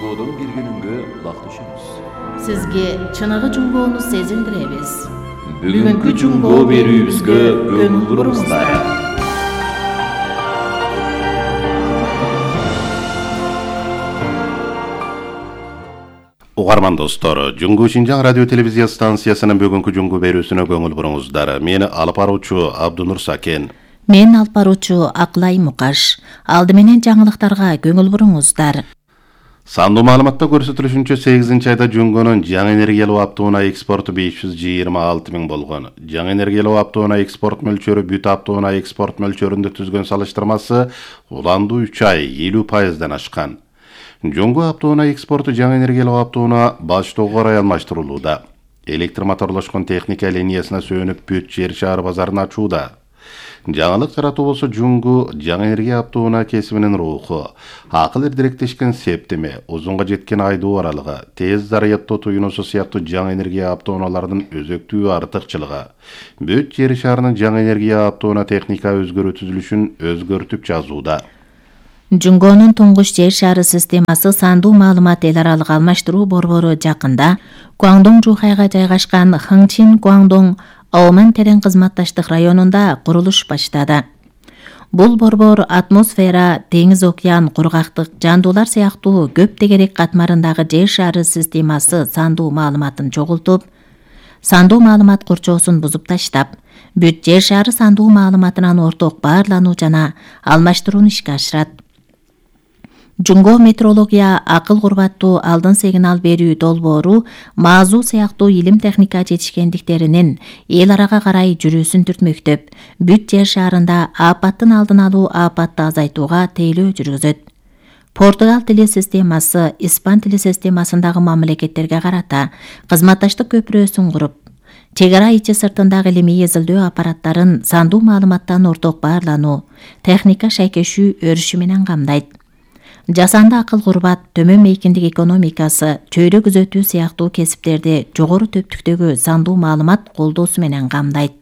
Жунгодон келгениңге улакташабыз. Сизге чыныгы жунгоону сезиндиребиз. Бүгүнкү жунгоо берүүбүзгө көңүл буруңуздар. Угарман достор, Жунгу Шинжаң радио телевизия станциясынын бүгүнкү жунгу берүүсүнө көңүл буруңуздар. Мени алып баруучу Абдунур Сакен. Мен алып баруучу Акылай Мукаш. Алды менен жаңылыктарга көңүл буруңуздар. Сандуу маалыматта көрсөтүлүшүнчө 8-айда Жунгонун жаңы энергиялуу аптоуна экспорту 526 000 болгон. Жаңы энергиялуу аптоуна экспорт мөлчөрү бүт аптоуна экспорт мөлчөрүндө түзгөн салыштырмасы уландуу 3 ай 50% ашкан. Жунгу аптоуна экспорту жаңы энергиялуу аптоуна баштоого карай алмаштырылууда. Электр моторлошкон техника линиясына сүйөнүп бүт жер шаар базарын ачууда. Жаңылык жаратуу болсо Жунгу жаңы энергия аптоуна кесибинин руху, акыл эрдиректешкен септеме, узунга жеткен айдоо аралыгы, тез зарядтоо туюнуусу сыяктуу жаңы энергия аптоуналардын өзөктүү артыкчылыгы. Бүт жер шаарынын жаңы энергия аптоуна техника өзгөрүү түзүлүшүн өзгөртүп жазууда. Жунгонун туңгуч жер шаары системасы сандуу маалымат эл аралык алмаштыруу борбору жакында Гуаңдоң Жухайга жайгашкан Хыңчин Гуаңдоң Аоман терең кызматташтык районунда курулуш баштады. Бул борбор атмосфера, деңиз океан, кургактык, жандуулар сыяктуу көп тегерек катмарындагы жер шаары системасы сандуу маалыматын чогултуп, сандуу маалымат курчоосун бузуп таштап, бүт жер шаары сандуу маалыматынан орток баарлануу жана алмаштырууну ишке ашырат. Жунго метеорология, акыл курбаттуу алдын сигнал берүү долбоору маазуу сыяктуу илим техника жетишкендиктеринин эл арага карай жүрүүсүн түртмөктөп, бүт жер шаарында апаттын алдын алуу, апатты азайтууга тейлөө жүргүзөт. Португал тили системасы испан тили системасындагы мамлекеттерге карата кызматташтык көпүрөсүн куруп, чек ара ичи сыртындагы илимий эзилдөө аппараттарын сандуу маалыматтан орток баарлануу, техника шайкешүү өрүшү менен камдайт. Жасанды акыл курбат, төмөн мейкиндик экономикасы, чөйрө күзөтүү сыяктуу кесиптерди жогору төптүктөгү сандуу маалымат колдоосу менен камдайт.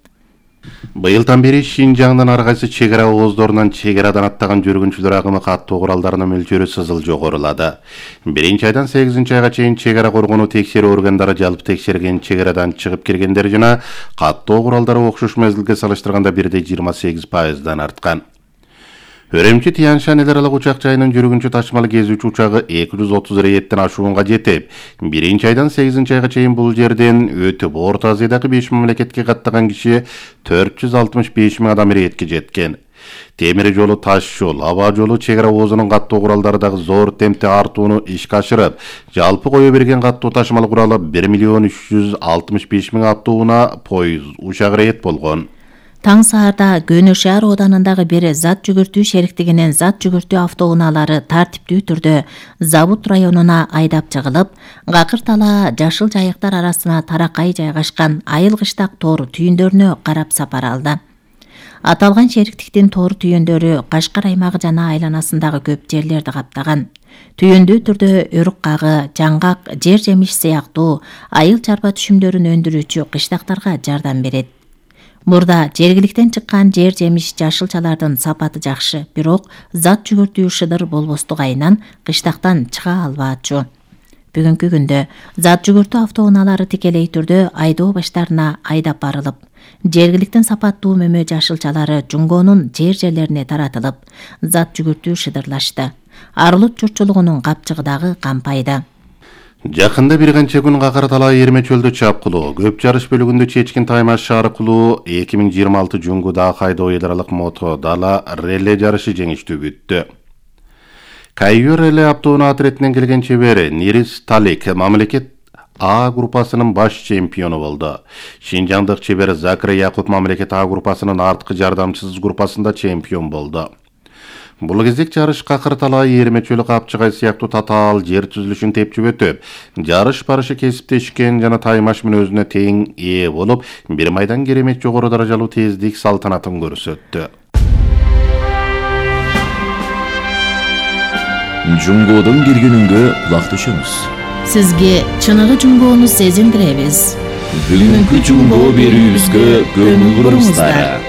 Быйылдан бери Шинжаңдын ар кайсы чек ара ооздорунан чек арадан аттаган жүргүнчүлөр агымы каттоо куралдарынын мөлчөрү сызыл жогорулады. 1-айдан 8-айга чейин чек ара коргонуу текшерүү органдары жалпы текшерген чек арадан чыгып киргендер жана каттоо куралдары окшош мезгилге салыштырганда 1,28% арткан. Өрөмчү Тяньшань эл аралык учак жайынын жүргүнчү ташымал кезүүчү учагы 230 рейттен ашуунга жетип, 1-айдан 8-айга чейин бул жерден өтүп, Орто Азиядагы 5 мамлекетке каттаган киши 465 000 адам рейдке жеткен. Темир жолу, таш жол, аба жолу чек ара оозунун каттоо куралдары дагы зор темпте артууну ишке ашырып, жалпы кое берген каттоо ташымал куралы 1 365 000 аттууна поезд, учак рейд болгон. Таң саарда Көнө шаар ооданындагы бир зат жүгүртүү шериктигинин зат жүгүртүү автоунаалары тартиптүү түрдө Завут районуна айдап чыгылып, Гакыр тала Жашыл жайыктар арасына таракай жайгашкан Айыл кыштак тоор түйүндөрүнө карап сапар алды. Аталган шериктиктин тоор түйүндөрү Кашкар аймагы жана айланасындагы көп жерлерди каптаган. Түйүндүү түрдө өрүк кагы, жаңгак, жер жемиш сыяктуу айыл чарба түшүмдөрүн өндүрүүчү кыштактарга жардам берет. Мурда жергиликтен чыккан жер жемиш жашылчалардын сапаты жакшы, бирок зат жүгүртүү шыдыр болбостугайынан кыштактан чыга албаачу. Бүгүнкү күндө зат жүгүртүү автоунаалары тикелей түрдө айдоо баштарына айдап барылып, жергиликтен сапаттуу мөмө жашылчалары Жунгонун жерлерине таратылып, зат жүгүртүү шыдырлашты. Арылык журтчулугунун капчыгы дагы кампайды. Жакында бир канча күн Гакыр тала Эрме чөлдө чапкылуу, көп жарыш бөлүгүндө чечкин таймаш аркылуу 2026 Жунгуда кайдоо эл аралык мото дала реле жарышы жеңиштүү бүттү. Кайюр реле аптоуна атретинен келген чебери Нирис Талик мамлекет А группасынын баш чемпиону болду. Шинжаңдык чебер Закир Якут мамлекет А группасынын арткы жардамчысыз группасында чемпион болду. Бул кезек жарыш Гакыр тала Эрме чөлү капчыгай сыяктуу татаал жер түзүлүшүн тепчип өтүп, жарыш барышы кесиптешкен жана таймаш менен өзүнө тең ээ болуп, бир майдан керемет жогору даражалуу тездик салтанатын көрсөттү. Жунгодон келгениңге улакташабыз. Сизге чыныгы жунгоону сезиндиребиз. Бүгүнкү жунгоо берүүбүзгө көңүл буруңуздар.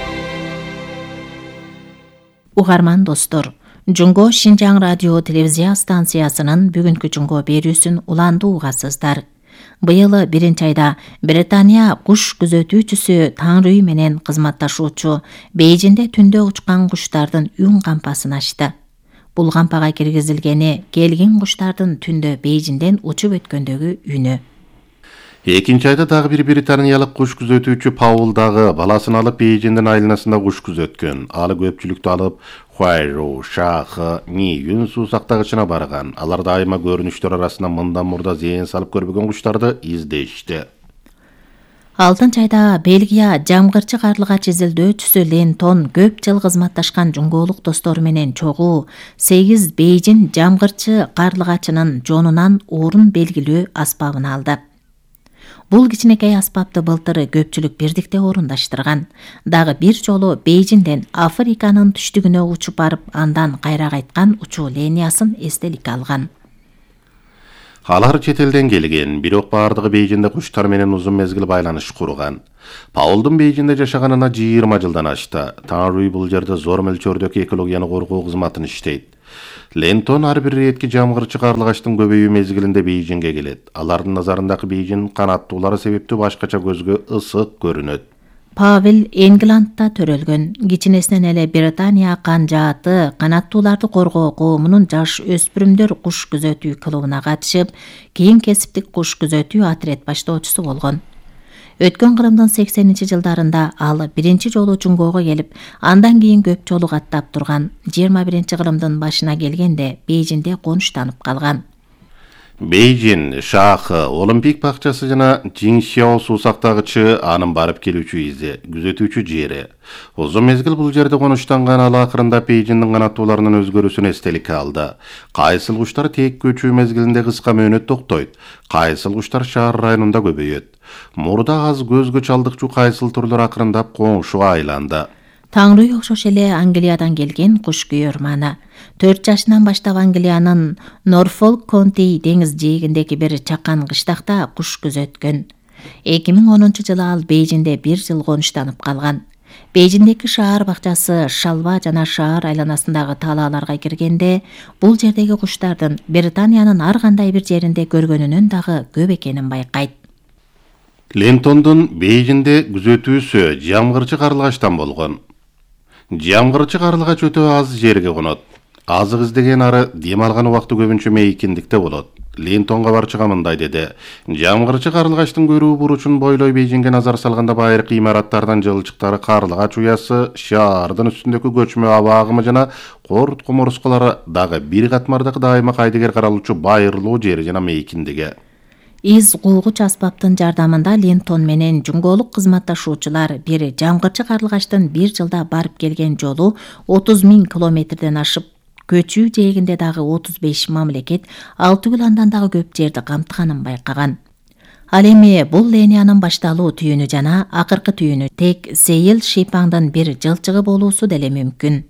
Угарман достор, Жунго Шинжаң радио телевизия станциясынын бүгүнкү жунго берүүсүн уландуу угасыздар. Быйыл 1-айда Британия куш күзөтүүчүсү Таңрүй менен кызматташуучу Бейжинде түндө учкан куштардын үн кампасын ачты. Бул кампага киргизилгени келген куштардын түндө Бейжинден учуп өткөндөгү үнү. 2-айда дагы бир британиялык куш күзөтүүчү Паул дагы баласын алып Бейжиндин айланасында куш күзөткөн. Алы көпчүлүктү алып Хуайру, Шахы, Ниюн суусактагычына барган. Алар дайыма көрүнүштөр арасында мындан мурда зыян салып көрбөгөн куштарды издешти. 6-айда Бельгия жамгырчы карлыгач изилдөөчүсү Лентон көп жыл кызматташкан жунголук достору менен чогуу 8 Бейжин жамгырчы карлыгачынын жонунан орун белгилөө аспабын алды. Бул кичинекей аспапты былтыр көпчүлүк бирдикте орундаштырган. Дагы бир жолу Бейжинден Африканын түштүгүнө учуп барып, андан кайра кайткан учуу линиясын эстеликке алган. Алар чет элден келген, бирок бардыгы Бейжинде куштар менен узун мезгил байланыш курган. Паулдун Бейжинде жашаганына 20 жылдан ашты. Таңрүй бул жерде зор мөлчөрдөгү экологияны коргоо кызматын иштейт. Лентон ар бир иретки жамгырчы карлыгачтын көбөйүү мезгилинде Бейжинге келет. Алардын назарындагы Бейжин канаттуулары себептүү башкача көзгө ысык көрүнөт. Павел Энгландда төрөлгөн. Кичинесинен эле Британия канжааты канаттууларды коргоо коомунун жаш өспүрүмдөр куш күзөтүү клубуна катышып, кийин кесиптик куш күзөтүү отряд баштоочусу болгон. Өткөн кылымдын 80-жылдарында ал биринчи жолу жунгого келип, андан кийин көп жолу каттап турган. 21-кылымдын башына келгенде Бейжинде конуштанып калган. Бейжин, Шахы, Олимпик бакчасы жана Жиңшиао суусактагычы анын барып келүүчү изи, күзөтүүчү жери. Узун мезгил бул жерде конуштанган ал акырында Бейжиндин канаттууларынын өзгөрүүсүн эстеликке алды. Кайсыл куштар тек көчүү мезгилинде кыска мөөнөт токтойт, кайсыл куштар шаар районунда көбөйөт. Мурда аз көзгө чалдыкчу кайсыл түрлөр акырындап коңшуга айланды. Таңрүй окшош эле Англиядан келген куш күйөрманы. 4 жашынан баштап Англиянын Норфолк Конти деңиз жээгиндеги бир чакан кыштакта куш күзөткөн. 2010-жылы ал Бейжинде 1 жыл конуштанып калган. Бейжиндеги шаар бакчасы шалба жана шаар айланасындагы талааларга киргенде, бул жердеги куштардын Британиянын ар кандай бир жеринде көргөнүнөн дагы көп экенин байкайт. Лентондун Бейжинде күзөтүүсү жамгырчы карлыгачтан болгон. Жамгырчы карлыгач өтө аз жерге конот. Азык издеген ары дем алган убакты көбүнчө мейкиндикте болот. Лентонго барчыга мындай деди. Жамгырчы карлыгачтын көрүү буручун бойлой Бейжинге назар салганда байыркы имараттардан жылчыктары карлыгач уясы, шаардын үстүндөгү көчмө аба агымы жана корут кумурскалары дагы бир катмардагы дайыма кайдыгер каралуучу байырлуу жери жана мейкиндиги. Из кулгуч аспаптын жардамында Лентон менен жунголук кызматташуучулар бир жамгырчы карлыгачтын 1 жылда барып келген жолу 30 000 километрден ашып, көчүү жээгинде дагы 35 мамлекет 6 күн андан дагы көп жерди камтыганын байкаган. Ал эми бул линиянын башталуу түйүнү жана акыркы түйүнү тек Сейил Шипаңдын бир жылчыгы болуусу деле мүмкүн.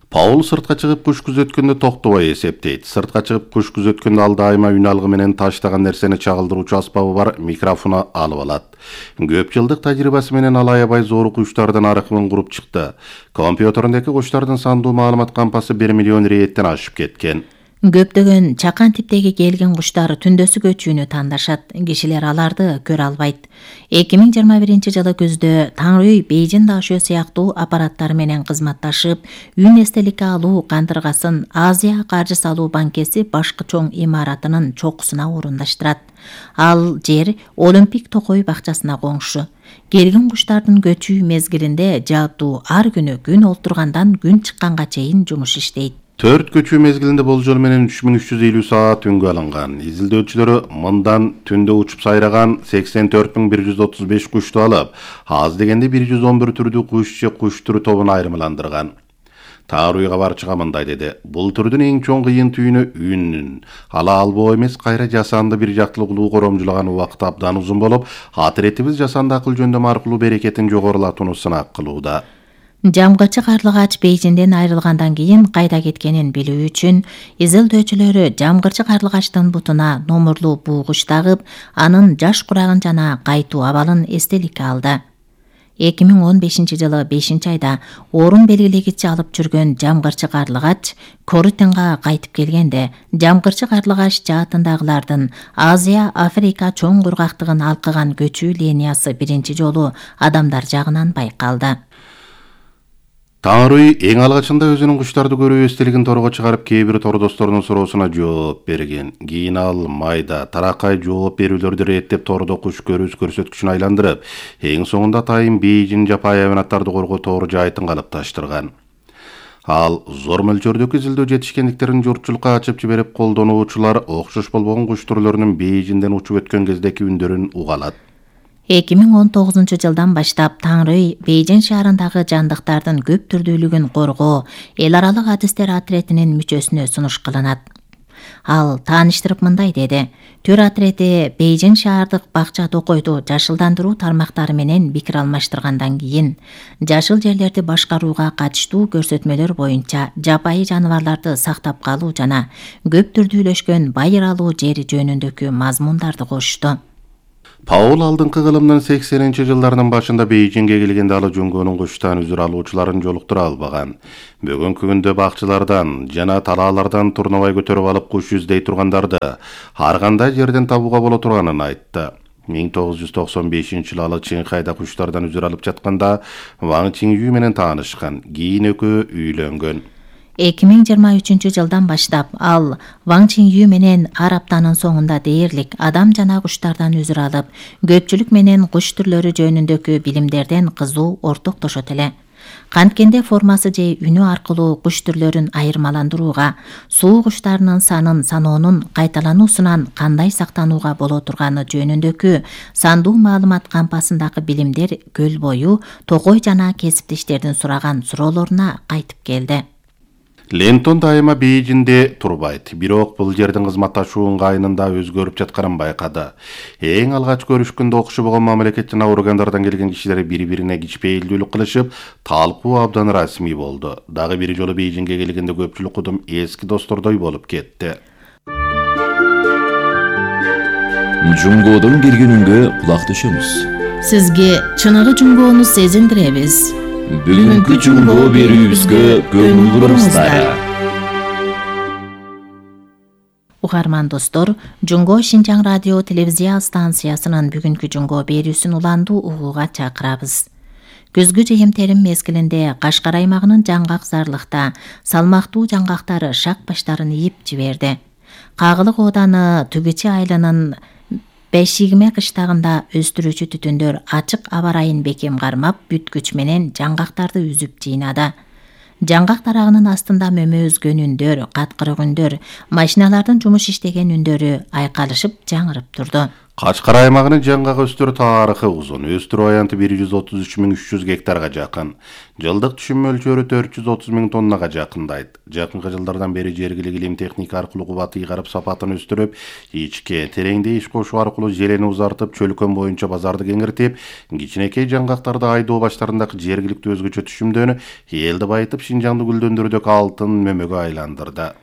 Паул сыртка чыгып куш күзөткөндө токтобой эсептейт. Сыртка чыгып куш күзөткөндө ал дайыма үн алгы менен таштаган нерсени чагылдыруучу аспабы бар микрофону алып алат. Көп жылдык тажрыйбасы менен ал аябай зор куштардын аракыбын куруп чыкты. Компьютериндеги куштардын сандуу маалымат кампасы 1 миллион рейеттен ашып кеткен. Көптөгөн чакан типтеги келген куштар түндөсү көчүүнү тандашат. Кишилер аларды көрө албайт. 2021-жылы күздө Таңрүй Бейжин дашөө сыяктуу аппараттары менен кызматташып, үн эстеликке алуу кандыргасын Азия каржы салуу банкеси башкы чоң имаратынын чокусуна орундаштырат. Ал жер Олимпик токой бакчасына коңшу. Келген куштардын көчүү мезгилинде жааптуу ар күнү күн олтургандан күн чыкканга чейин жумуш иштейт. 4 көчүү мезгилинде болжол менен 3350 саат үнгө алынган. Изилдөөчүлөрү мындан түндө учуп сайраган 84135 кушту алып, аз дегенде 111 түрдүү куш же куш түрү тобуна айырмаландырган. Таарууйга барчыга мындай деди. Бул түрдүн эң чоң кыйын түйүнү үн. Ала албоо эмес, кайра жасанды бир жактылыклуу коромжулаган убакыт абдан узун болуп, отрядыбыз жасанды акыл жөндөм аркылуу берекетин жогорулатууну сынак кылууда. Жамгырчы карлыгач Бейжинден айрылгандан кийин кайда кеткенин билүү үчүн изилдөөчүлөрү жамгырчы карлыгачтын бутуна номурлуу бугуч тагып, анын жаш курагын жана кайтуу абалын эстеликке алды. 2015-жылы 5-айда орун белгилегичи алып жүргөн жамгырчы карлыгач Корутенга кайтып келгенде, жамгырчы карлыгач жаатындагылардын Азия, Африка чоң кургактыгын алкыган көчүү линиясы биринчи жолу адамдар жагынан байкалды. Таңрый эң алгачында өзүнүн куштарды көрүү эстелигин торго чыгарып, кээ бир тордосторунун суроосуна жооп берген. Кийин ал майда таракай жооп берүүлөрдү реттеп тордо куш көрүүс көрсөткүчүн айландырып, эң соңунда Атайын Бейжин жапайы хайванаттарды коргоо тоор жайытын калыпташтырган. Ал зор мөлчөрдөгү изилдөө жетишкендиктерин журтчулукка ачып жиберип, колдонуучулар окшош болбогон куш түрлөрүнүн Бейжинден учуп өткөн кездеки үндөрүн угалат. 2019-жылдан баштап Таңрый Бейжин шаарындагы жандыктардын көп түрдүүлүгүн коргоо эл аралык адистер отретинин мүчөсүнө сунуш кылынат. Ал тааныштырып мындай деди: Төр отрети Бейжин шаардык бакча токойду жашылдандыруу тармактары менен пикир алмаштыргандан кийин жашыл жерлерди башкарууга катыштуу көрсөтмөлөр боюнча жапайы жаныбарларды сактап калуу жана көп түрдүүлөшкөн байыр алуу жери жөнүндөгү мазмундарды кошту. Паул алдыңкы кылымдын 80-жылдарынын башында Бейжинге келгенде ал Жунгонун куштан үзүр алуучуларын жолуктура албаган. Бүгүнкү күндө бакчылардан жана талаалардан турнабай көтөрүп алып куш издей тургандарды ар кандай жерден табууга боло турганын айтты. 1995-жылы ал Чыңхайда куштардан үзүр алып жатканда Ван Чинью менен таанышкан. Кийин экөө үйлөнгөн. 2023-жылдан баштап ал Ван Чинью менен ар аптанын соңунда дээрлик адам жана куштардан үзүр алып, көпчүлүк менен куш түрлөрү жөнүндөгү билимдерден кызуу ортоктошот эле. Канткенде формасы же үнү аркылуу куш түрлөрүн айырмаландырууга, суу куштарынын санын саноонун кайталануусунан кандай сактанууга боло турганы жөнүндөгү сандуу маалымат кампасындагы билимдер көл бою токой жана кесиптештердин сураган суроолоруна кайтып келди. Лентон дайыма Бейжинде турбайт, бирок бул жердин кызматташуу ыңгайынын да өзгөрүп жатканын байкады. Эң алгач көрүшкөндө окшо болгон мамлекет жана органдардан келген кишилер бири-бирине кичпейилдүүлүк кылышып, талкуу абдан расмий болду. Дагы бир жолу Бейжинге келгенде көпчүлүк кудум эски достордой болуп кетти. Жунгодон киргенүнгө кулак түшөмүз. Сизге чыныгы жунгоону сезиндиребиз. Бүгүнкү жунгоо берүүбүзгө көңүл буруңуздар. Угарман достор, Жунго Шинжаң радио телевизия станциясынын бүгүнкү жунгоо берүүсүн уландуу угууга чакырабыз. Күзгү жыйымтерим мезгилинде Кашкар аймагынын жаңгак зарлыкта салмактуу жаңгактары шак баштарын ийип жиберди. Кагылык ооданы Түгүчү айылынын Бешигме кыштагында өстүрүүчү түтүндөр ачык аба ырайын бекем кармап, бүт күч менен жаңгактарды үзүп жыйнады. Жаңгак тарагынын астында мөмө өзгөн үндөр, каткырык үндөр, машиналардын жумуш иштеген үндөрү айкалышып жаңырып турду. Кашкар аймагынын жаңгак өстүрүү тарыхы узун. Өстүрүү аянты 133.300 гектарга жакын. Жылдык түшүм мөлчөрү 430.000 тоннага жакындайт. Жакынкы жылдардан бери жергиликтүү илим техника аркылуу кубат ыйгарып сапатын өстүрүп, ичке тереңде иш кошуу аркылуу желени узартып, чөлкөн боюнча базарды кеңиртип, кичинекей жаңгактарды айдоо баштарындагы жергиликтүү өзгөчө түшүмдөнү элди байытып, Шинжаңды гүлдөндүрүүдөгү алтын мөмөгө айландырды.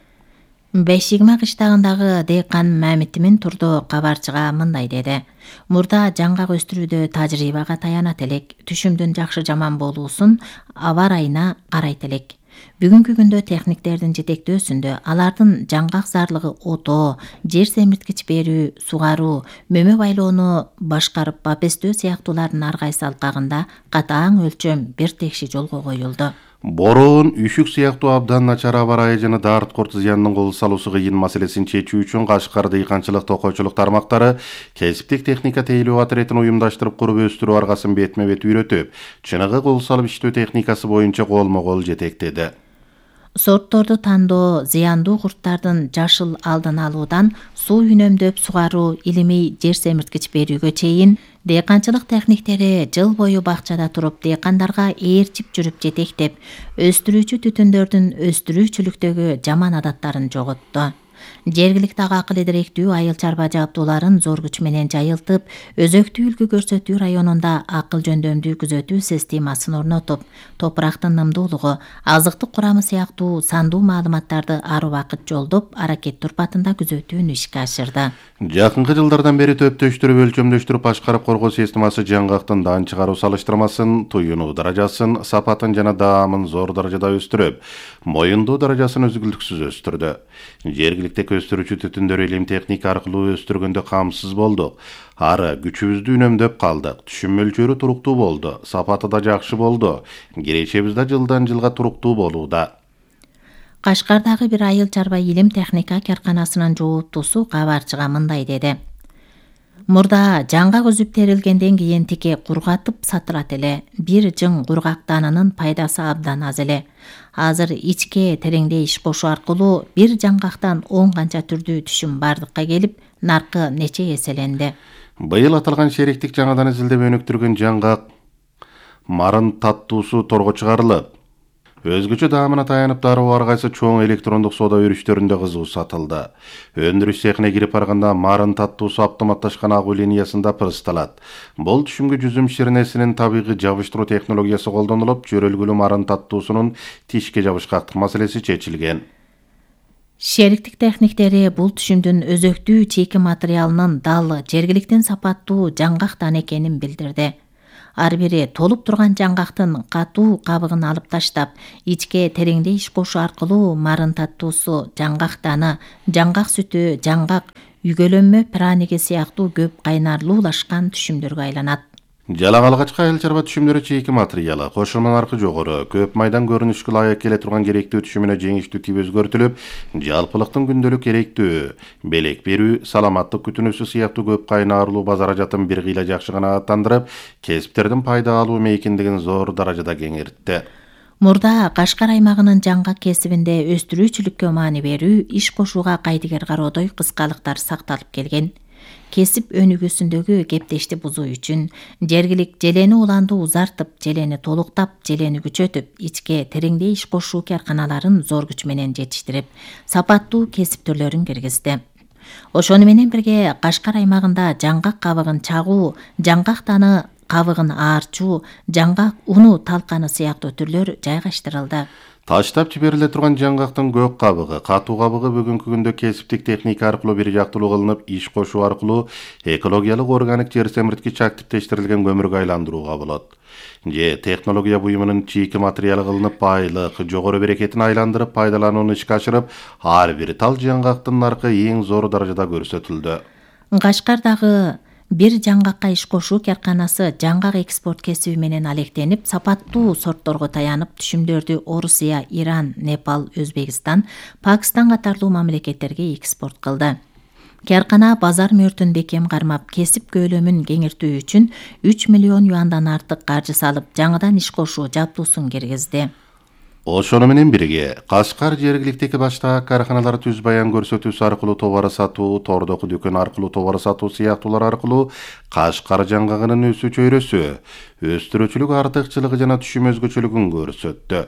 Бешигме кыштагындагы дыйкан Мамитимин турду кабарчыга мындай деди: Мурда жаңгак өстүрүүдө тажрыйбага таянат элек, түшүмдүн жакшы жаман болуусун аба ырайына карайт элек. Бүгүнкү күндө техниктердин жетектөөсүндө алардын жаңгак зарлыгы отоо, жер семирткич берүү, сугаруу, мөмө байлоону башкарып бапестөө сыяктуулардын ар кайсы алкагында катаң өлчөм бир текши жолго коюлду. Бороон, үшүк сыяктуу абдан начар аба ырайы жана дарт корт зыянынын кол салуусу кыйын маселесин чечүү үчүн Кашкар дыйканчылык токойчулук тармактары кесиптик техника тейлөө отретин уюмдаштырып куруп өстүрүү аргасын бетме бет үйрөтүп, чыныгы кол салып иштөө техникасы боюнча колмо-кол жетектеди. Сортторду тандоо, зыяндуу курттардын жашыл алдын алуудан суу үнөмдөп сугаруу, илимий жер семирткич берүүгө чейин дыйканчылык техниктери жыл бою бакчада туруп дыйкандарга ээрчип жүрүп жетектеп, өстүрүүчү түтүндөрдүн өстүрүүчүлүктөгү жаман адаттарын жоготту. Жергиликтеги акыл идиректүү айыл чарба жабдууларын зор күч менен жайылтып, өзөктүү үлгү көрсөтүү районунда акыл жөндөмдүү күзөтүү системасын орнотуп, топурактын нымдуулугу, азыктык курамы сыяктуу сандуу маалыматтарды ар убакыт жолдоп, аракет турпатында күзөтүүнү ишке ашырды. Жакынкы жылдардан бери төптөштүрүп өлчөмдөштүрүп башкарып коргоо системасы жаңгактын дан чыгаруу салыштырмасын, туюнуу даражасын, сапатын жана даамын зор даражада өстүрүп, моюндуу даражасын үзгүлтүксүз өстүрдү. Жергиликтеги өстүрүүчү түтүндөр илим техника аркылуу өстүргөндө камсыз болдук. Ары күчүбүздү үнөмдөп калдык. Түшүм мөлчөрү туруктуу болду. Сапаты да жакшы болду. Киречебиз да жылдан жылга туруктуу болууда. Кашкардагы бир айыл чарба илим техника карканасынын жооптусу кабарчыга мындай деди. Мурда жаңгак үзүп терилгенден кийин тике кургатып сатылат эле. Бир жың кургактанынын пайдасы абдан аз эле. Азыр ичке тереңдей иш кошуу аркылуу бир жаңгактан 10 канча түрдүү түшүм бардыкка келип, наркы нече эселенди. Быйыл аталган шериктик жаңадан изилдеп өнүктүргөн жаңгак марын таттуусу торго чыгарылып, өзгөчө даамына таянып дароо ар кайсы чоң электрондук соода өрүштөрүндө кызуу сатылды. Өндүрүш цехине кирип барганда марын таттуусу автоматташкан агуу линиясында пырысталат. Бул түшүмгө жүзүм ширнесинин табигый жабыштыруу технологиясы колдонулуп, жөрөлгүлүү марын таттуусунун тишке жабышкактык маселеси чечилген. Шериктик техниктери бул түшүмдүн өзөктүү чийки материалынын дал жергиликтен сапаттуу жаңгактан экенин билдирди. Ар бири толуп турган жаңгактын катуу кабыгын алып таштап, ичке тереңдей иш кошуу аркылуу марын таттуусу, жаңгак даны, жаңгак сүтү, жаңгак үгөлөнмө праниги сыяктуу көп кайнарлуулашкан түшүмдөргө айланат. Жалак алгачкы айыл чарба түшүмдөрү чийки материалы, кошулма наркы жогору, көп майдан көрүнүшкө ылайык келе турган керектүү түшүмүнө жеңиштүү тип өзгөртүлүп, жалпылыктын күндөлүк керектүү, белек берүү, саламаттык күтүнүүсү сыяктуу көп кайнарлуу базаражатын бир кыйла жакшы канааттандырып, кесиптердин пайда алуу мейкиндигин зор даражада кеңейтти. Мурда Кашкар аймагынын жаңгак кесибинде өстүрүүчүлүккө маани берүү, иш кошууга кайдыгер кароодой кыскалыктар сакталып келген. Кесип өнүгүүсүндөгү кептешти бузуу үчүн жергилик желени уланды узартып, желени толуктап, желени күчөтүп, ичке тереңдей иш кошуу карканаларын зор күч менен жетиштирип, сапаттуу кесип түрлөрүн киргизди. Ошону менен бирге Кашкар аймагында жаңгак кабыгын чагуу, жаңгак даны кабыгын аарчуу, жаңгак уну талканы сыяктуу түрлөр жайгаштырылды. Таштап жибериле турган жаңгактын көк кабыгы, катуу кабыгы бүгүнкү күндө кесиптик техника аркылуу бир жактылуу кылынып, иш кошуу аркылуу экологиялык органик жер семирткич активдештирилген көмүргө айландырууга болот. Же технология буюмунун чийки материалы кылынып, байлык, жогору берекетин айландырып, пайдаланууну ишке ашырып, ар бир тал жаңгактын наркы эң зор даражада көрсөтүлдү. Кашкардагы бир жаңгакка иш кошуу карканасы жаңгак экспорт кесиби менен алектенип, сапаттуу сортторго таянып, түшүмдөрдү Орусия, Иран, Непал, Өзбекстан, Пакистан катарлуу мамлекеттерге экспорт кылды. Каркана базар мөртүн бекем кармап, кесип көөлөмүн кеңиртүү үчүн 3 миллион юандан артык каржы салып, жаңыдан иш кошуу жабдуусун киргизди. Ошону менен бирге Кашкар жергиликтеги баштагы карканалар түз баян көрсөтүүсү аркылуу товар сатуу, тордоку дүкөн аркылуу товар сатуу сыяктуулар аркылуу Кашкар жаңгагынын өсүү чөйрөсү, өстүрүүчүлүк артыкчылыгы жана түшүм өзгөчөлүгүн көрсөттү.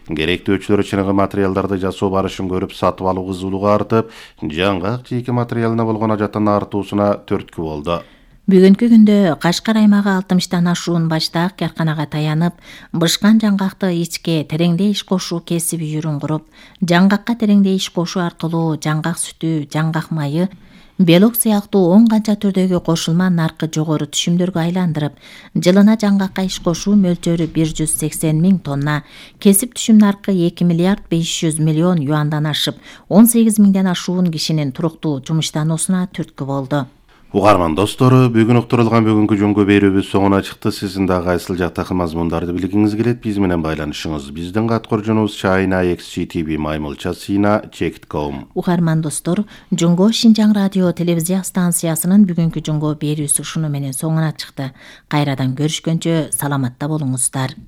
Керектөөчүлөр чыныгы материалдарды жасоо барышын көрүп, сатып алуу кызуулугу артып, жаңгак чийки материалына болгон ажаттын артуусуна түрткү болду. Бүгүнкү күндө Кашкар аймагы 60тан ашуун баштаак карканага таянып, бышкан жаңгакты ичке тереңдей иш кошуу кесиби жүрүн куруп, жаңгакка тереңдей иш кошуу аркылуу жаңгак сүтү, жаңгак майы, белок сыяктуу 10 канча түрдөгү кошулма наркы жогору түшүмдөргө айландырып, жылына жаңгакка иш кошуу мөлчөрү 180 миң тонна, кесип түшүм наркы 2 миллиард 500 миллион юандан ашып, 18 миңден ашуун кишинин туруктуу жумуштануусуна түрткү болду. Угарман достору, бүгүн уктурулган бүгүнкү жөнгө берүүбүз соңуна чыкты. Сиздин да кайсыл жактагы мазмундарды билгиңиз келет, биз менен байланышыңыз. Биздин каткоржунубуз china@xgtv-chek.com. Угарман достор, Жөнгө Шинжаң радио телевизия станциясынын бүгүнкү жөнгө берүүсү ушуну менен соңуна чыкты. Кайрадан көрүшкөнчө саламатта болуңуздар.